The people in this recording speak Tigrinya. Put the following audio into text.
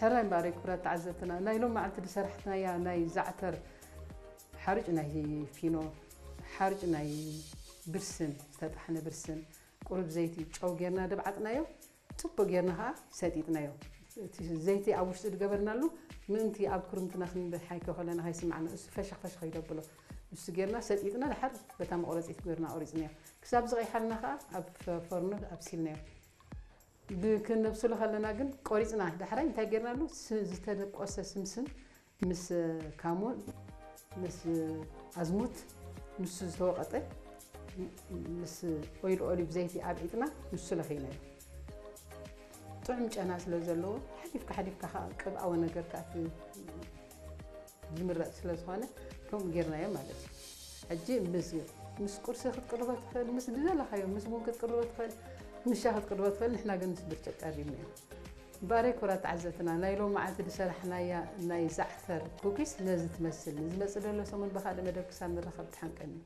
ሕራይ እምበኣር ክቡራት ተዓዘብትና፣ ናይ ሎም መዓልቲ ዝሰራሕናያ ናይ ዛዕተር ሓርጭ ናይ ፊኖ፣ ሓርጭ ናይ ብርስን፣ ዝተጣሕነ ብርስን፣ ቁሩብ ዘይቲ፣ ጨው ጌርና ደብዓጥናዮ። ጽቡቅ ጌርና ኸኣ ሰጢጥናዮ። እቲ ዘይቲ ኣብ ውሽጢ ዝገበርናሉ ምእንቲ ኣብ ክርምትና ክንብል ሓይከ ከለና ከይስማዕና እሱ ፈሸኽ ፈሸኽ ይደብሎ። ንሱ ጌርና ሰጢጥና ድሓር በታ መቑረጺት ጌርና ቆሪጽናዮ። ክሳብ ዝቐይሓልና ኸኣ ኣብ ፈ-፣ ፈርኖ ኣብሲልናዮ። ብ-፣ ክነብስሎ ከለና ግን ቆሪጽና ዳሕራይ እንታይ ጌርናሉ? ስ-፣ ዝተደቆሰ ስምስም ምስ ካሞን፣ ምስ ኣዝሙት፣ ንሱ ዝተወቐጠ፣ ምስ ኦይል ኦሊቭ ዘይቲ ኣብዒጥና ንሱ ለኺናዮ። ጥዑም ጨና ስለ ዘለዎ፣ ሓሊፍካ ሓሊፍካ ኸዓ ቅብኣዊ ነገር ከኣ እቲ ዝምረጽ ስለ ዝኾነ፣ ከምኡ ጌርናዮ ማለት እዩ። ሕጂ ምስ፣ ምስ ቁርሲ ክትቅርቦ ትኽእል፣ ምስ ዝደለኻዮ፣ ምስ ቡን ክትቅርቦ ትኽእል፣ ምስ ሻሂ ክትቅርቦ ትኽእል፣ ንሕና ግን ምስ ብርጭቅ ቀሪብናዮ። እምበኣር ክቡራት ተዓዘብትና፣ ናይ ሎም መዓልቲ ዝሰራሕናያ ናይ ዛዕተር ኩኪስ ነዚ ትመስል። ንዝመጽእ ዘሎ ሰሙን ብኻልእ መደብ ክሳብ ንራኸብ ድሓን ቀንዩ።